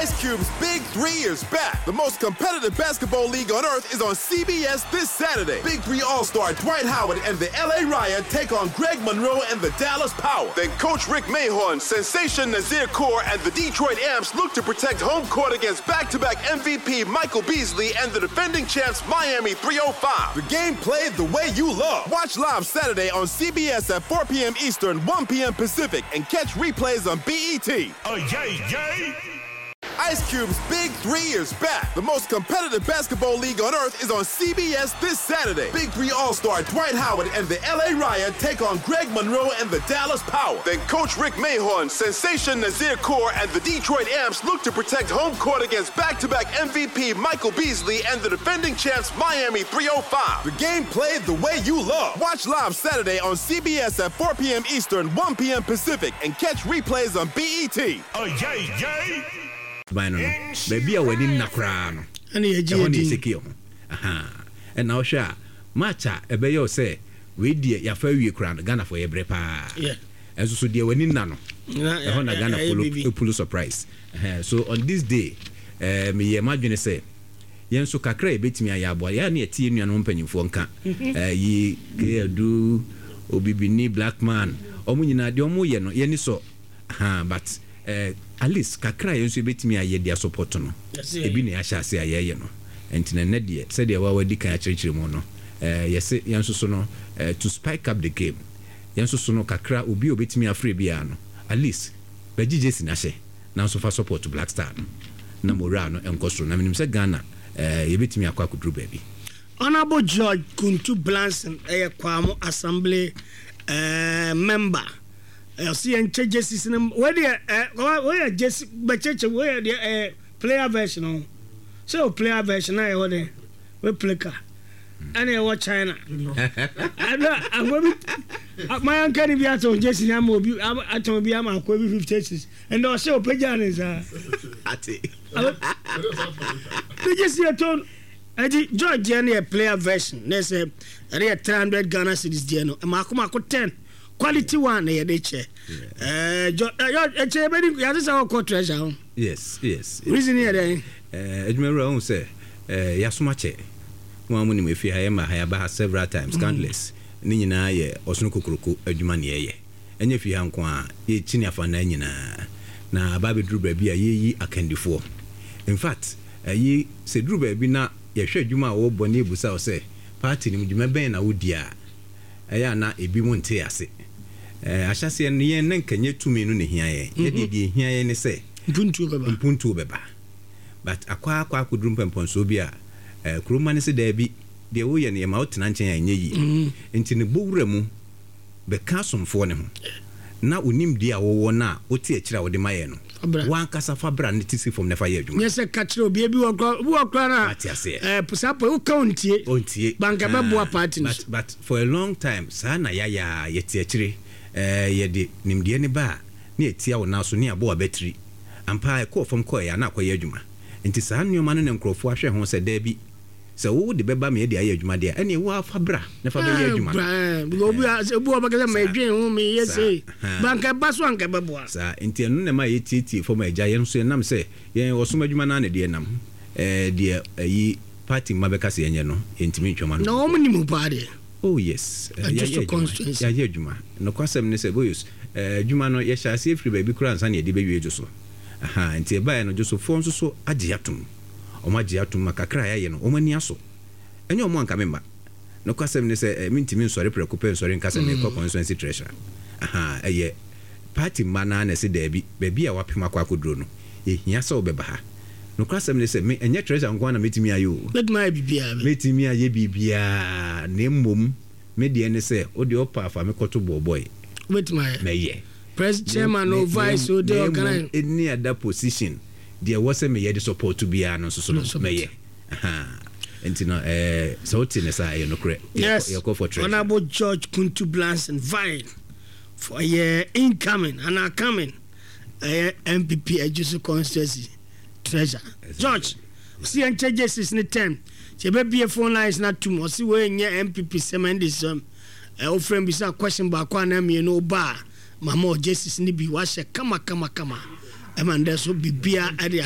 Ice Cube's Big Three is back. The most competitive basketball league on earth is on CBS this Saturday. Big Three All Star Dwight Howard and the LA Riot take on Greg Monroe and the Dallas Power. Then Coach Rick Mahorn, Sensation Nazir Kaur, and the Detroit Amps look to protect home court against back to back MVP Michael Beasley and the defending champs Miami 305. The game played the way you love. Watch live Saturday on CBS at 4 p.m. Eastern, 1 p.m. Pacific, and catch replays on BET. Oh, yay, yay! Ice Cube's Big Three is back. The most competitive basketball league on earth is on CBS this Saturday. Big Three All Star Dwight Howard and the LA Riot take on Greg Monroe and the Dallas Power. Then Coach Rick Mahorn, Sensation Nazir Kaur, and the Detroit Amps look to protect home court against back to back MVP Michael Beasley and the defending champs Miami 305. The game played the way you love. Watch live Saturday on CBS at 4 p.m. Eastern, 1 p.m. Pacific, and catch replays on BET. Oh, yay, yay! Ban no no, baabi a w'ani nna koraa no, ɛhɔ na yɛsɛki yɛ ho. Ahaa. Ɛna wohwɛ a, match a ɛbɛyɛ wo sɛ wei deɛ yɛafa awie koraa no, Ghanafoɔ yɛbrɛ paa. Ɛnso so deɛ w'ani nna no, ɛhɔ na Ghanafoɔ no pull surprise. Ɛhɛn, so on this day, eh, meyɛɛ m'adwene sɛ yɛn nso kakra a yɛbɛtumi ayɛ aboa. Yɛ a na yɛte yɛn nuanom mpanyimfoɔ nka, eh, yi K. Adu, Obibini, Black Man, wɔn nyinaa deɛ wɔyɛ no, yɛn ani sɔ. Ahaa but eh at least kakra a yɛn nso yɛbɛtumi ayɛ de asupɔto no, ebi na yɛahyɛ ase a yɛreyɛ no. Nti no ɛnnɛ deɛ, sɛdeɛ wo ara woadi kan akyerɛkyerɛ mu no, eh yɛse yɛn nso so no eh to spike up the game, yɛn nso so no kakra obi a ɔbɛtumi afrɛ biara no, at least bɛgye jersey no ahyɛ na nso fa support Black Star no na morale no nkɔ soro. Na menim sɛ Ghana eh yɛbɛtumi akɔ akɔduru baabi. Honourable George Kuntu Blankson yɛ Kwamo Assembly eh member. Ɔsi yɛn kyɛ jerseys no wei deɛ ɛ wei yɛ jersey bɛkyɛkyɛ wei yɛ deɛ ɛyɛ player version o sɛ o player version na ɛwɔ dɛ replica ɛna ɛwɔ China ɛna akɔ bi mayanka ni bi atɔn jersey ni ama obi atɔn bi ama akɔ bi 56 ɛna ɔsɛ ɔpɛgya ne nsa ate ne jersey ɛtɔn ɛdi George deɛ no yɛ player version na ɛsɛ ɛde yɛ 300 Ghana cedis deɛ no mako mako 10. Quality one na yɛde kyɛ. Ɛɛ jɔ ɛyɔ ɛkyɛ yɛbɛdi yɛate sɛ ɔkɔ treasure ho. Yes. Reason yɛ dɛn? Ɛɛ adwumawura ohun sɛ ɛɛ yasom akyɛ. Mo a mo nim efie ha yɛ ma ha yaba ha several times countless. Ne nyinaa yɛ ɔsono kokoroko adwuma na yɛyɛ. Ɛnyɛ fie ha nko ara yɛkyini afanaa nyinaa. Na aba abɛduru baabi a yɛreyi akandifoɔ. In fact ɛyi sɛ ɛduru baabi na yɛhwɛ adwuma a wɔrebɔ na yɛbusa wo sɛ party no mu dwuma bɛn na wodi a ɛyɛ a na ebinom nte ase. Ahyɛaseɛ no, yɛn na nka nyɛ tumi no na ɛhia yɛn. Yɛn deɛ, deɛ ɛhia yɛn ne sɛ mpuntuo bɛba. But akɔ ara akɔ akɔduru mpɛmpɔnsoɔ bi a, kuro mma no se daabi, deɛ woyɛ no yɛma wotena nkyɛn a ɛnyɛ yie. Nti no bɔ wura mu bɛka asomfoɔ no ho na wo nimdeɛ a wowɔ no a wote akyire a wode ma yɛn no, w'ankasa fa bra na te si fam na fa yɛ adwuma. Nyɛ sɛ ka kyerɛ obi, ebi wɔ koraa, obi wɔ koraa na. Wate aseɛ. Ɛɛ saa pɔ, woka ontie. Ontie. But anka ɛbɛboa party no so. But for a long time, saa na yɛayɛ ara, yɛte akyire, ɛɛ yɛde nimdeɛ no ba a, na yɛtia wo nan so, na yɛabɔ w'abatiri. Ampa ara ɛkɔɔ fam kɔeɛ a, na akɔyɛ adwuma. Nti saa nneɛma no na nkurɔfoɔ ahwɛ ho sɛ, daabi, Sɛ wo de bɛba me de ayɛ adwuma deɛ a, ɛnneɛ wo ara fa bra na fa bɛyɛ adwuma no. Obi wɔ bɛka sɛ medwen ho meyɛ sei, but anka ɛba so a anka ɛbɛboa. Saa, nti ɛno na ɛma yɛtietie fam agya yɛn nso yɛnam sɛ yɛn ɔsom adwuma no ara na ɛde yɛn nam. Ɛɛ deɛ ayi party mma bɛka sɛ yɛnyɛ no, yɛntumi ntwam ano. Na wɔn nim wo paa deɛ. Oh yes, yɛayɛ adwuma, yɛayɛ adwuma. Nokwasɛm ne sɛ Boyos, adwuma no yɛhyɛ aseɛ firi baabi koraa ansa na yɛde bɛwie Dwoso. Ahaa, nti ɛbaeɛ no Dwosofoɔ nso so agye atom. Wɔagye atom ma kakra a yɛayɛ no, wɔn ani asɔ. Ɛnyɛ wɔn a anka memma. Nokwasɛm ne sɛ, mintumi nsɔre prɛko pɛ nsɔre nka sɛ merekɔ constituency treasurer. Ahaa, ɛyɛ party mma no ara na ɛse daabi, baabi a wɔapem akɔ akɔduro no, ɛhia sɛ wobɛba ha. Nokwasɛm ne sɛ, me, ɛnyɛ treasurer nko ara na mɛtumi ayɛ o. Mɛtumi ayɛ biribiara. Mɛtumi ayɛ biribiara, na mmom me deɛ ne sɛ, wo deɛ wopɛ a fa me kɔto bɔɔlbɔe. Wobɛtumi ayɛ. Mɛyɛ. Pres, chairman o, vice o, deɛ ɔka Na mmom any other position, deɛ ɛwɔ sɛ meyɛ de support biara no nso so no, mɛyɛ. Ahaa. Nti no, eh, sɛ wote ne saa a, ɛyɛ nokorɛ. Yes, Yɛkɔ for treasure. Honourable George Kuntu Blanson vying for ɛyɛ incoming anaa coming ɛyɛ NPP Ejisu constituency treasure. George, ɔsi yɛn kyɛ jerseys ne term, sɛ yɛbɛbie phone lines no atum, ɔsi wei nyɛ NPP sɛm NDC sɛm. Ɛ wofrɛ me bisa question baako anaa mmienu woba a mama wo jerseys no bi wahyɛ kama kama kama ɛma ndɛ so bibia ɛde.